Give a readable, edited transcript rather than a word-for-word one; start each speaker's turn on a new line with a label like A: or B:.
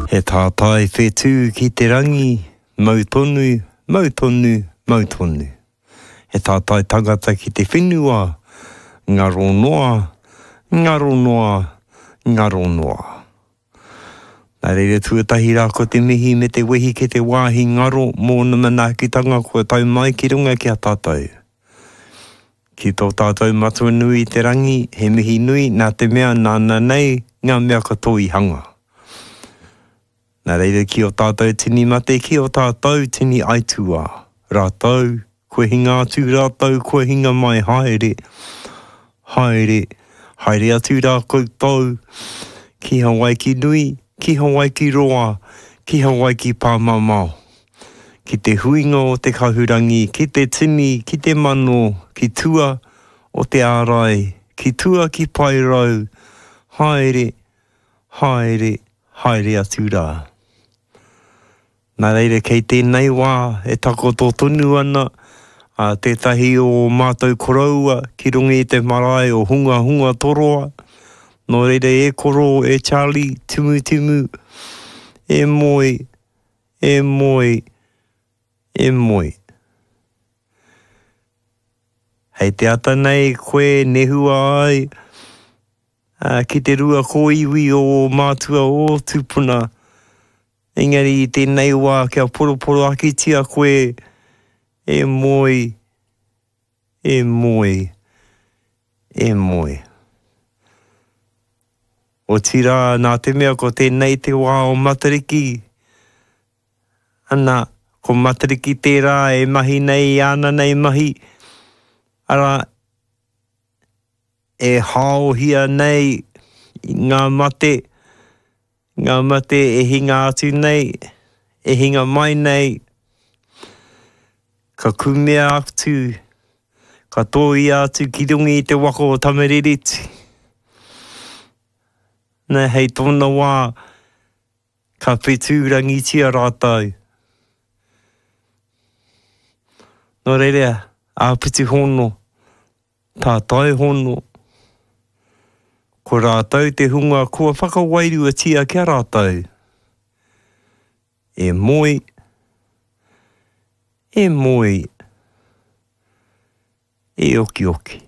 A: He tātai whetū ki te rangi, mau tonu, mau tonu, mau tonu. He tātai tangata ki te whenua, ngaro noa, ngaro noa, ngaro noa. Nā reira tuatahi rā ko te mihi me te wehi ki te wāhi ngaro mōna manaakitanga kua tau mai ki runga ki a tātou. Ki tō tātou Matua nui i te rangi, he mihi nui nā te mea nāna nei ngā mea katoa i hanga. Nā reira ki ō tātou tini mate, ki ō tātou tini aituā, rātou Kua hinga atu rātou, kua hinga mai, haere, haere, haere atu rā koutou ki Hawaiki nui, ki Hawaiki roa, ki Hawaiki pāmamao, ki te huinga o te kahurangi, ki te tini, ki te mano, ki tua o te ārai, ki tua ki Paerau, haere, haere, haere atu rā. Nā reira kei tēnei wā e takoto tonu ana a tētahi o ō mātou koroua ki runga i te marae o Hungahunga Toroa. Nō reira e koro, e Charlie, Timutimu, e moe, e moe, e moe. Hei te ata nei koe nehua ai ki te rua kōiwi o ō mātua, ō tūpuna, Engari i tēnei wā kia poroporoakitia koe e moe, e moe, e moe. Otirā, nā te mea ko tēnei te wā o Matariki, ana, ko Matariki tērā e mahi nei i āna nei mahi, arā, e haohia nei ngā mate, Ngā mate e hinga atu nei, e hinga mai nei, ka kumea atu, ka tōia atu ki runga i te waka o Tamarereti. Nā, hei tōna wā, ka whetūrangitia rātou. Nō reira, āpiti hono, Tātai hono, ko rātou te hunga kua whakawairuatia ki a rātou, e moe, e moe, e okioki.